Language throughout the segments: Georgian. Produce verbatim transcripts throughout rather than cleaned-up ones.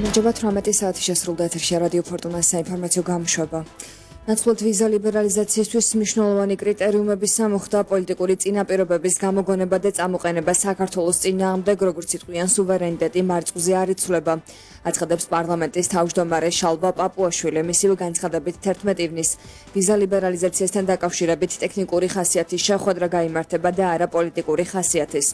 გამარჯობა თვრამეტი საათი შესრულდა ეთერში რადიო ფორტუნას საინფორმაციო გამოშვება. ნაცვლად ვიზა ლიბერალიზაციისთვის მნიშვნელოვანი კრიტერიუმების სამუხდა პოლიტიკური წინაპირობების გამოგონება და წამოყენება საქართველოს წინააღმდეგ, როგორც იტყვიან სუვერენიტეტი მარწყვზე არ იცვლება. აცხადებს პარლამენტის თავმჯდომარე შალვა პაპუაშვილი. მისივე განცხადებით თერთმეტი ივნის ვიზა ლიბერალიზაციასთან დაკავშირებით ტექნიკური ხასიათის შეხვედრა გაიმართება და არა პოლიტიკური ხასიათის.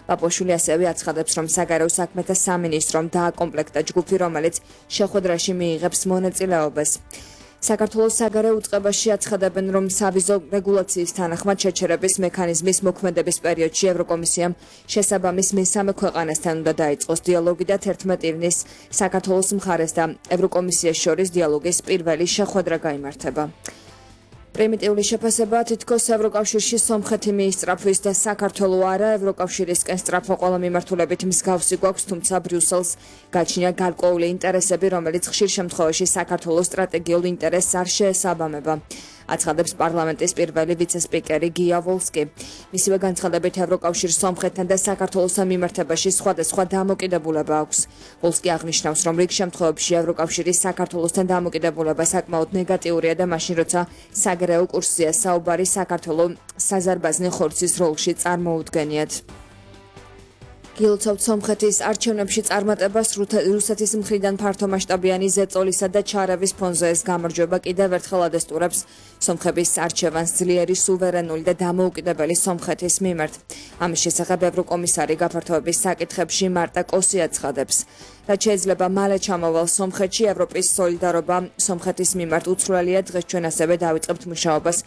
პაპუაშვილი ასევე აცხადებს, რომ საგარეო საქმეთა სამინისტრომ დააკომპლექტა ჯგუფი, რომელიც შეხვედრაში მიიღებს მონაწილეობას. საქართველოს საგარეო უწყებაში აცხადებენ, რომ სავიზო რეგულაციის თანახმად შეჩერების მექანიზმის მოქმედების პერიოდში ევროკომისიამ შესაბამის მესამე ქვეყანასთან უნდა დაიწყოს დიალოგი და თერთმეტი ივნის საქართველოს მხარეს და ევროკომისიას შორის დიალოგის პირველი შეხვედრა გაიმართება. პრიმიტიული შეფასება თითქოს ევროკავშირში სომხეთი მიისწრაფვის და საქართველო არა, ევროკავშირისკენ სწრაფვა ყველა მიმართულებით მსგავსი გვაქვს, თუმცა ბრიუსელს გაჩნია გარკვეული ინტერესები, რომელიც ხშირ შემთხვევაში საქართველოს სტრატეგიულ ინტერესს არ შეესაბამება. აცხადებს პარლამენტის პირველი ვიცე-სპიკერი გია ვოლსკი. მისივე განცხადებით ევროკავშირს სომხეთთან და საქართველოს მიმართებაში სხვადასხვა დამოკიდებულება აქვს. ვოლსკი აღნიშნავს, რომ რიგ შემთხვევებში ევროკავშირის საქართველოსთან დამოკიდებულება საკმაოდ ნეგატიურია და მაშინ, როცა საგარეო კურსზეა საუბარი, საქართველო საზარბაზნე ხორცის როლში წარმოუდგენიათ. გილოცავთ სომხეთის არჩევნებში წარმატებას რუსეთის მხრიდან ფართომასშტაბიანი ზეწოლისა და ჩარევის ფონზე. ეს გამარჯვება კიდევ ერთხელ ადესტურებს სომხების არჩევანს ძლიერი, სუვერენული და დამოუკიდებელი სომხეთის მიმართ. ამის შესახებ ევროკომისარი გაფართოების საკითხებში მარტა კოსი აცხადებს. რაც შეიძლება მალე ჩამოვალ სომხეთში, ევროპის სოლიდარობა სომხეთის მიმართ უცვლელია. დღეს ჩვენ ასევე დავიწყებთ მუშაობას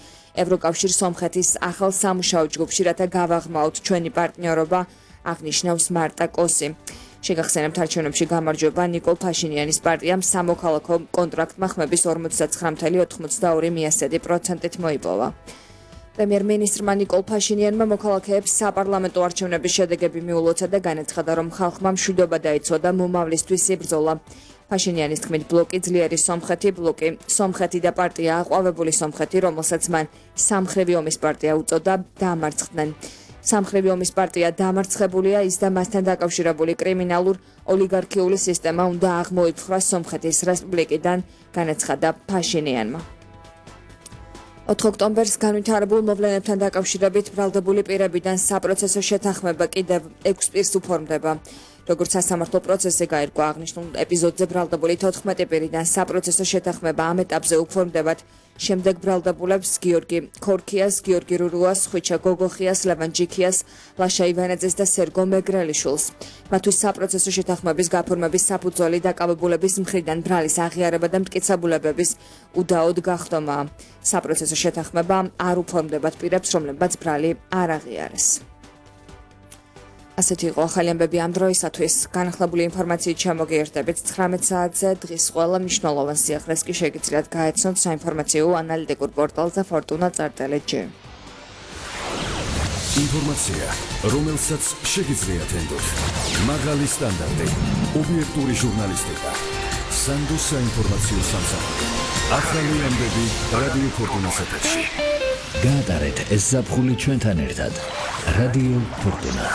ევროკავშირ სომხეთის ახალ სამუშაო ჯგუფში, რათა გავაღრმავთ ჩვენი პარტნიორობა, აღნიშნავს მარტა კოსი. შეგახსენებთ, არჩევნებში გამარჯვება ნიკოლ ფაშინიანის პარტიამ სამოქალაქო კონტრაქტმა ხმების ორმოცდაცხრა წუთი ოცდაორი მiyასედი პროცენტით მოიპოვა. პრემიერ-მინისტრმა ნიკოლ ფაშინიანმა მოქალაქეებს საპარლამენტო არჩევნების შედეგები მიულოცა და განაცხადა, რომ ხალხმა მშვიდობა დაიცვა და მომავლისთვის იბრძოლა. ფაშინიანის თქმით, ბლოკი ძლიერი სომხეთი, ბლოკი სომხეთი და პარტია აყვავებული სომხეთი, რომელსაც მან სამხრივი ომის პარტია უწოდა, დამარცხდნენ. სამხრივი ომის პარტია დამარცხებულია, ის და მასთან დაკავშირებული კრიმინალურ ოლიგარქიული სისტემა უნდა აღმოიფხვრას სომხეთის რესპუბლიკიდან, განაცხადა ფაშინიანმა. ოთხ ოქტომბერს განვითარებულ მოვლენებთან დაკავშირებით ბრალდებული პირებიდან საპროცესო შეთანხმება კიდევ ექვს პირს უფორმდება. როგორც სასამართლო პროცესი გაირკვა, აღნიშნულ ეპიზოდზე ბრალდებული თოთხმეტი პირიდან საპროცესო შეთანხმება ამ ეტაპზე უფორმდებათ შემდეგ ბრალდებულებს გიორგი ქორქიას, გიორგი რურუას, ხვიჩა გოგოხიას, ლევან ჯიქიას, ლაშა ივანაძეს და სერგო მეგრელიშვილს. მათთვის საპროცესო შეთანხმების გაფორმების საფუძველი დაკავებულების მხრიდან ბრალის აღიარება და მტკიცებულებების უდაოდ გახდომაა. საპროცესო შეთანხმება არ უფორმდებათ პირებს, რომლებმაც ბრალი არ აღიარეს. ასეთი იყო ახალი ამბები ამ დროისათვის. განახლებული ინფორმაციით შემოგიერთდებით ცხრამეტ საათზე. დღის ყველა მნიშვნელოვან სიახლეს კი შეგიძლიათ გაეცნოთ საინფორმაციო ანალიტიკურ პორტალზე ფორტუნა წარწერით ჯი. ინფორმაცია, რომელსაც შეგიძლიათ ენდოთ. მაღალი სტანდარტი, ობიექტური ჟურნალისტიკა. სანდოს საინფორმაციო სამსახური. ახალი ამბები რადიო ფორტუნას ეთერში. გაატარეთ ეს ზაფხული ჩვენთან ერთად. რადიო ფორტუნა.